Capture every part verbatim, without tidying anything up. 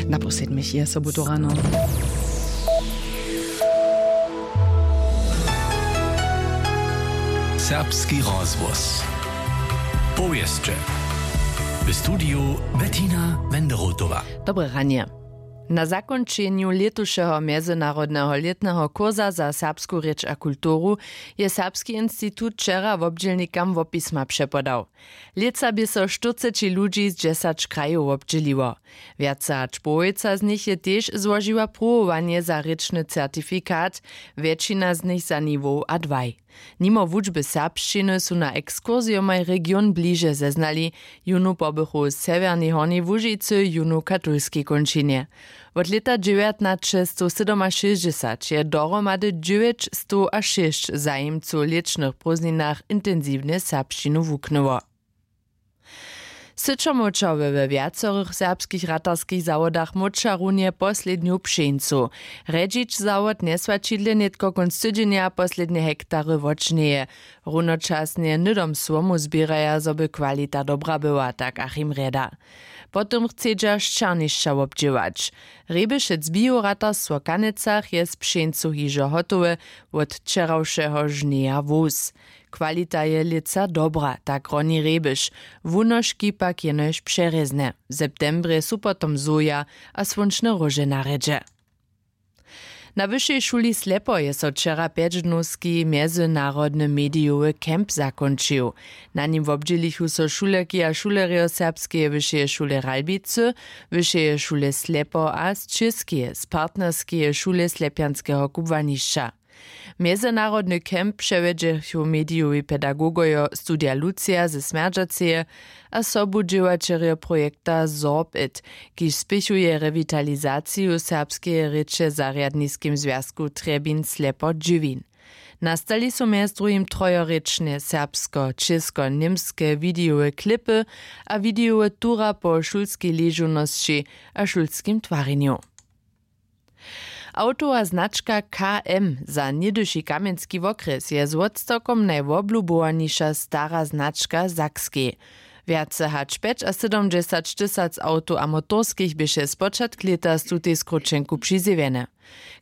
Na poslednich je sobutu rano. Serbski rozhłos. Powěsće. W studiju Bettina Wenderotowa. Dobre ranje. Na zakónčenju lětušeho mjezynarodneho lětneho kursa za serbsku rěč a kulturu je Serbski institut wčera wobdźělnikam wopisma přepodał. Lětsa bě so štyrceći ludźi z dźesać krajow wobdźěliło. Wjace hač połojca z nich je tež złožiła pruwowanje za rěčny certifikat, wjetšina z nich za niwow a dwaj. Nimo wučby serbšćiny su na ekskursijomaj region bliže zeznali, jónu pobychu w sewjernej Hornjej Łužicy, jónu w katolskej kónčinje. Wot lěta dźewjatnaćestowsydomašěsćdźesat je dohromady dźewjećstowašěsć zajimcow w lěćnych prózdninach intensiwnje serbšćinu wuknyło. Syćomłóčerjo we wjacorych serbskich ratarskich zawodach móča runje poslednju pšeńcu. Rjedźić zawod njeswaćidle nětko kónc tydźenja poslednje hektary wotžnjeje. Runočasnje hnydom słomu zběraja, zo by kwalita dobra była, tak Achim Rjeda. Potom chcedźa šćernišća wobdźěłać. Rjebešec bioratarstwo w Kanecach je z pšeńcu hižo hotowe, wot wčerawšeho žnjeja wós. Kwalita je lětsa dobra, tak roni rjebješ, wunožki pak jenož přerězne. W septembrje su potom soja a słónčne róže na rjedźe. Na wyšej šuli Slepo je so wčera pjećdnowski mjezynarodny medijowy camp zakónčił. Na nim wobdźělichu so šulerki a šulerjo Serbskeje wyšeje šule Ralbicy, Wyšeje šule Slepo a z Čěskeje z partnerskeje šule Slepjanskeho kubłanišća. Mjezynarodny camp přewjedźechu medijowi pedagogojo Studija Lucija ze Smjerdźaceje a sobudźěłaćerjo projekta Sorbit, kiž spěchuje rewitalizaciju serbskeje rěče w zarjadniskim zwjazku Trjebin Slepo Dźěwin. Nastali su mjez druhim trojorěčne serbsko-čěsko-němske widejowe klipy a widejowe tura po šulskej ležownosći a šulskim twarjenju. Awtowa značka K M za něhdyši kamjenski wokrjes je z wotstawkom najwoblubowaniša stara značka w Sakskej. Wjace hač pjećasydomdźesaćtysac awtow a motorskich běše spočatk lěta z tutej skróćenku přizjewjene.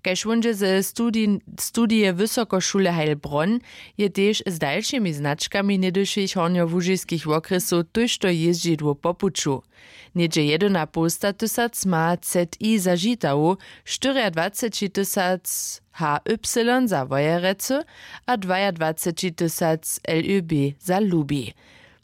Kaž wón dźe ze studij-, studije Wysokošule Heilbronn, je tež z dalšimi značkami něhdyšich hornjołužiskich wokrjesow tójšto jězdźidłow po puću. Něhdźe jedynapołstatysac ma Z I za Žitawu, štyriadwacećitysac H Y za Wojerecy a dwajadwacećitysac L Ö B za Lubi.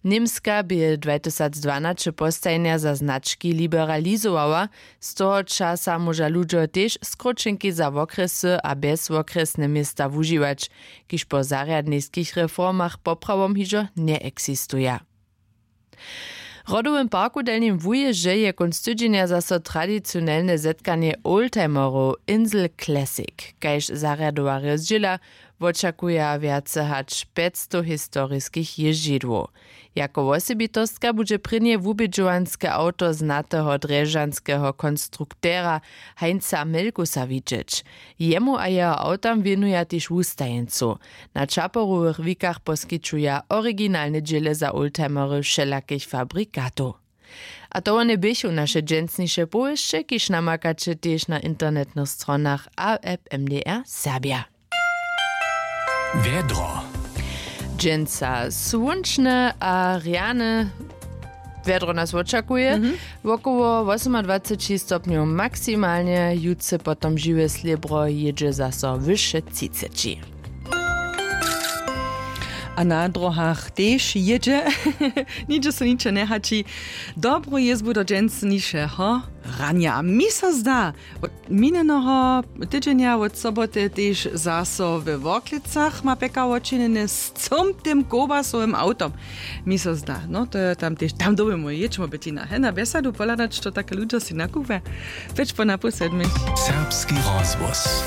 Němska bě dwajtysacdwanaće postajnja za znački liberalizowała, z toho časa móža ludźo tež skróćenki za wokrjesy a bjezwokrjesne města wužiwać, kiž po zarjadniskich reformach poprawom hižo njeeksistuja. W Rodowym parku w Delnim Wujězdźe je kónc tydźenja zaso tradicionelne zetkanje oldtimerow Insel Classic. Kaž zarjadowarjo zdźěla, wočakuja wjace hač pjećstow historiskich jězdźidłow. Jako wosebitostka budźe prěnje wubědźowanske awto znateho drježdźanskeho konstruktera Heinza Melkusa widźeć. Jemu a jeho awtam wěnuja tež wustajeńcow. Na čaporowych wikach poskićuja originalne dźěle za oldtimery wšelakich fabrikatow. A to wone běchu naše dźensniše powěsće, kiž namakaće tež na internetnych stronach a app M D R Serbja. Wjedro. Dźensa słónčne a rjane wjedro nas wočakuje. Mhm. Wokoło wosomadwaceći stopnjow maksimalnje, jutře potom žiwe slěbro jědźe zaso wyše třiceći. A na dróhach tež jědźe. Nihdźe so ničo njehaći. Dobru jězbu do dźensnišeho ranja. Mi so zda, wot minjeneho tydźenja wot soboty tež zaso we Worklecach ma pjekar wočinjene z cymtym kołbasowym awtom. Mi so zda, no to je tam tež, tam dyrbimy jěć, mo Bettina, he, na bjesadu pohladać, što take ludźo sej nakupja. Pjeć po napoł sedmich. Serbski rozhłos.